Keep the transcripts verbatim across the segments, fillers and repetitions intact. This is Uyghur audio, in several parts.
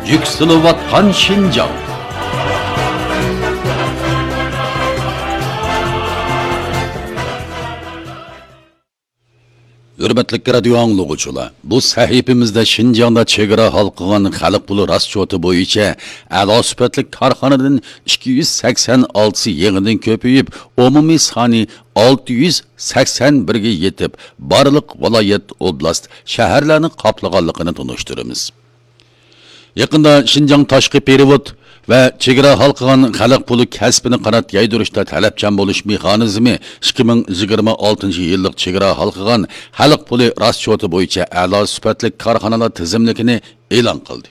يۈكسىلىۋاتقان شىنجاڭ. ھۆرمەتلىك رادىيو ئاڭلىغۇچىلار، بۇ سەھىپىمىزدە شىنجاڭدا چېگرا ھالقىغان خەلق پۇلى راسچوتى بويىچە ئەلا سۈپەتلىك كارخانىدىن ئىككى يۈز سەكسەن ئالتىسى يېڭىدىن كۆپىيىپ، ئومۇمىي سانى ئالتە يۈز سەكسەن بىرگە يېتىپ، بارلىق ۋىلايەت، ئوبلاست، شەھەرلەرنى قاپلىغانلىقىنى تونۇشتۇرىمىز. يېقىندا شىنجاڭ تاشقى پېرېۋوت ۋە چېگرا ھالقىغان خەلق پۇلى كەسپىنى قانات يايدۇرۇشتا تەلەپچان بولۇش مېخانىزمى ئىككى مىڭ يىگىرمە ئالتىنچى يىللىق چېگرا ھالقىغان خەلق پۇلى راسچوتى بويىچە ئەلا سۈپەتلىك كارخانىلار تىزىملىكىنى ئېلان قىلدى.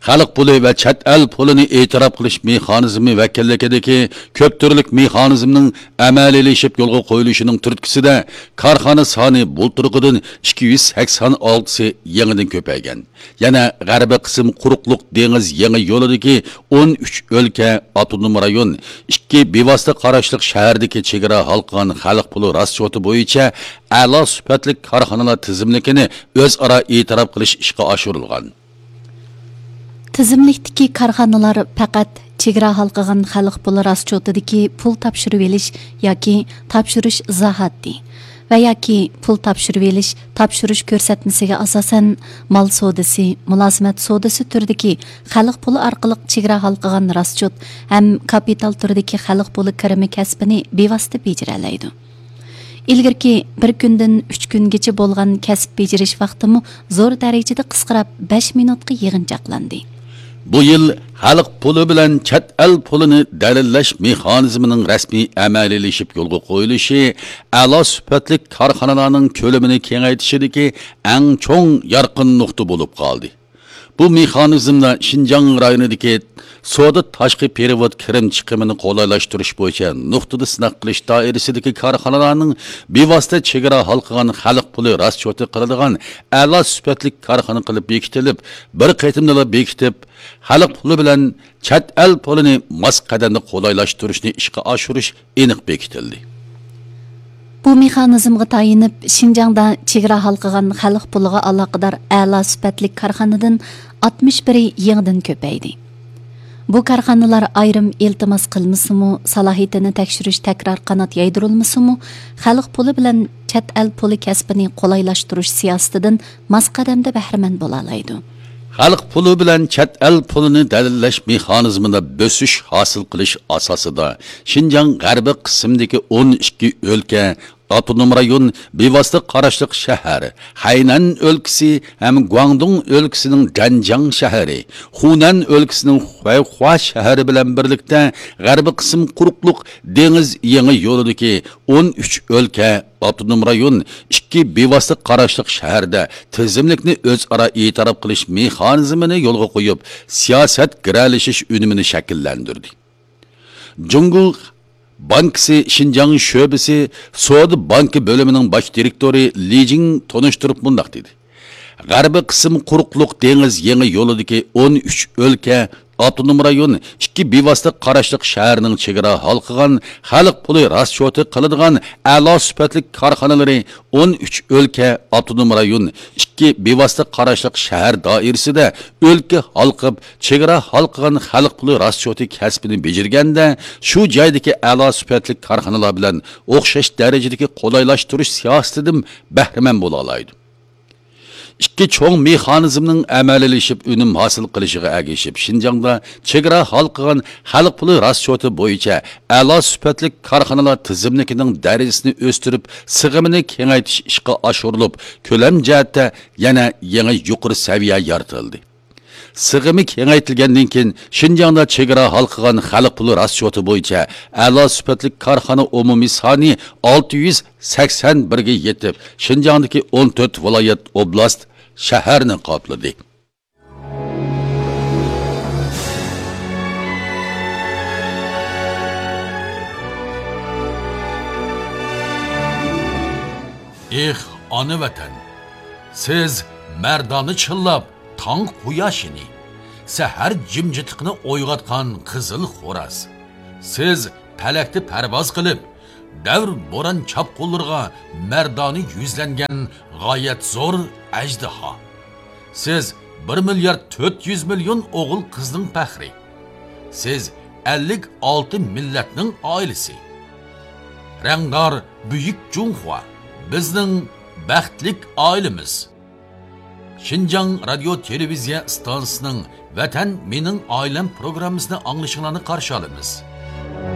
خەلق پۇلى ۋە چەت ئەل پۇلىنى ئېتىراپ قىلىش مېخانىزمى ۋەكىللىكىدىكى كۆپ تۈرلۈك مېخانىزمنىڭ ئەمەلىيلىشىپ يولغا قويۇلۇشىنىڭ تۈرتكىسىدە، كارخانا سانى بۇلتۇرقىدىن ئىككى يۈز سەكسەن ئالتىسى يېڭىدىن كۆپەيگەن. يەنە غەربىي قىسىم قۇرۇقلۇق دېڭىز يېڭى يولىدىكى ئون ئۈچ ئۆلكە، ئاپتونوم رايون، ئىككى بىۋاسىتە قاراشلىق شەھەردىكى چېگرا ھالقىغان خەلق پۇلى راسچوتى بويىچە ئەلا سۈپەتلىك كارخانىلار تىزىملىكىنى ئۆزئارا ئېتىراپ قىلىش ئىشقا ئاشۇرۇلغان. تىزىملىكتىكى كارخانىلار پەقەت چېگرا ھالقىغان خەلق پۇلى راسچوتىدىكى پۇل تاپشۇرۇۋېلىش ياكى تاپشۇرۇش ئىزاھاتى ۋە ياكى پۇل تاپشۇرۇۋېلىش تاپشۇرۇش كۆرسەتمىسىگە ئاساسەن، مال سودىسى، مۇلازىمەت سودىسى تۈرىدىكى خەلق پۇلى ئارقىلىق چېگرا ھالقىغان راسچوت ھەم كاپىتال تۈرىدىكى خەلق پۇلى كىرىمى كەسپىنى بىۋاسىتە بېجىرەلەيدۇ. ئىلگىرىكى بىر كۈندىن ئۈچ كۈنگىچە بولغان كەسىپ بېجىرىش ۋاقتىمۇ زور دەرىجىدە قىسقىراپ، بەش مىنۇتقا يىغىنچاقلاندى. بۇ يىل خەلق پۇلى بىلەن چەت ئەل پۇلىنى دەلىللەش مېخانىزمىنىڭ رەسمىي ئەمەلىيلىشىپ يولغا قويۇلۇشى ئەلا سۈپەتلىك كارخانىلارنىڭ كۆلىمىنى كېڭەيتىشىدىكى ئەڭ چوڭ يارقىن نۇقتا بولۇپ قالدى. بۇ مېخانىزمدا شىنجاڭ رايونىدىكى سودا تاشقى پېرېۋوت كىرىم چىقىمىنى قولايلاشتۇرۇش بويىچە نۇقتىدا سىناق قىلىش دائىرىسىدىكى كارخانىلارنىڭ بىۋاسىتە چېگرا ھالقىغان خەلق پۇلى راسچوتى قىلىدىغان ئەلا سۈپەتلىك كارخانا قىلىپ بېكىتىلىپ، بىر قېتىمدىلا بېكىتىپ، خەلق پۇلى بىلەن چەت ئەل پۇلىنى ماس قەدەمدە قولايلاشتۇرۇشنى ئىشقا ئاشۇرۇش ئېنىق بېكىتىلدى. بۇ مېخانىزمغا تايىنىپ، شىنجاڭدا چېگرا ھالقىغان خەلق پۇلىغا ئالاقىدار ئەلا سۈپەتلىك كارخانىدىن ئاتمىش بىرى يېڭىدىن كۆپەيدى. بۇ كارخانىلار ئايرىم ئىلتىماس قىلمىسىمۇ، سالاھىيىتىنى تەكشۈرۈش تەكرار قانات يايدۇرۇلمىسىمۇ، خەلق پۇلى بىلەن چەت ئەل پۇلى كەسپىنى قولايلاشتۇرۇش سىياسىتىدىن ماس قەدەمدە بەھرىمەن بولالايدۇ. خەلق پۇلى بىلەن چەت ئەل پۇلىنى دەلىللەش مېخانىزمىدا بۆسۈش ھاسىل قىلىش ئاساسىدا، شىنجاڭ غەربىي قىسمىدىكى ئون ئىككى ئۆلكە، ئاپتونوم رايون، بىۋاسىتە قاراشلىق شەھەر، خەينەن ئۆلكىسى ھەم گۇاڭدۇڭ ئۆلكىسىنىڭ جەنجاڭ شەھىرى، خۇنەن ئۆلكىسىنىڭ خۇەيخۇا شەھىرى بىلەن بىرلىكتە غەربىي قىسىم قۇرۇقلۇق دېڭىز يېڭى يولىدىكى ئون ئۈچ ئۆلكە، ئاپتونوم رايون، ئىككى بىۋاسىتە قاراشلىق شەھەردە تىزىملىكنى ئۆزئارا ئېتىراپ قىلىش مېخانىزمىنى يولغا قويۇپ، سىياسەت گىرەلىشىش ئۈنۈمىنى شەكىللەندۈردى. جۇڭگو بانكىسى شىنجاڭ شۆبىسى سودا بانكا بۆلۈمىنىڭ باش دىرېكتورى لى جىڭ تونۇشتۇرۇپ مۇنداق دېدى: غەربىي قىسىم قۇرۇقلۇق دېڭىز يېڭى يولىدىكى ئون ئۈچ ئۆلكە، ئاپتونوم رايون، ئىككى بىۋاسىتە قاراشلىق شەھەرنىڭ چېگرا ھالقىغان خەلق پۇلى راسچوتى قىلىدىغان ئەلا سۈپەتلىك كارخانىلىرى ئون ئۈچ ئۆلكە، ئاپتونوم رايون، ئىككى بىۋاسىتە قاراشلىق شەھەر دائىرىسىدە ئۆلكە ھالقىپ، چېگرا ھالقىغان خەلق پۇلى راسچوتى كەسپىنى بېجىرگەندە، شۇ جايدىكى ئەلا سۈپەتلىك كارخانىلار بىلەن ئوخشاش دەرىجىدىكى قولايلاشتۇرۇش سىياسىتىدىن بەھرىمەن بولالايدۇ. ئىككى چوڭ مېخانىزمنىڭ ئەمەلىيلىشىپ ئۈنۈم ھاسىل قىلىشىغا ئەگىشىپ، شىنجاڭدا چېگرا ھالقىغان خەلق پۇلى راسچوتى بويىچە ئەلا سۈپەتلىك كارخانىلار تىزىملىكىنىڭ دەرىجىسىنى ئۆستۈرۈپ، سىغىمىنى كېڭەيتىش ئىشقا ئاشۇرۇلۇپ، كۆلەم جەھەتتە يەنە يېڭى يۇقىرى سەۋىيە يارىتىلدى. سىغىمى كېڭەيتىلگەندىن كېيىن، شىنجاڭدا چېگرا ھالقىغان خەلق پۇلى راسچوتى بويىچە ئەلا سۈپەتلىك كارخانا ئومۇمىي سانى ئالتە يۈز سەكسەن بىرگە يېتىپ، شىنجاڭدىكى ئون تۆت ۋىلايەت، ئوبلاست، شەھەرنى قاپلىدى. ئېھ، ئانا ۋەتەن! سىز مەردانە چىللاپ، تاڭ قۇياشىنى، سەھەر جىمجىتلىقىنى ئويغاتقان قىزىل خوراز. سىز پەلەكتە پەرۋاز قىلىپ، دەۋر بوران چاپقۇنلىرىغا مەردانە يۈزلەنگەن غايەت زور ئەجدىھا. سىز بىر مىليارد تۆت يۈز مىليون ئوغۇل-قىزنىڭ پەخرى. سىز ئەللىك ئالتە مىللەتنىڭ ئائىلىسى. رەڭدار بۈيۈك جۇڭخۇا، بىزنىڭ بەختلىك ئائىلىمىز. شىنجاڭ رادىيو تېلېۋىزىيە ئىستانسىسىنىڭ ۋەتەن مېنىڭ ئائىلەم پروگراممىسىنى ئاڭلىشىڭلارنى قارشى ئالىمىز.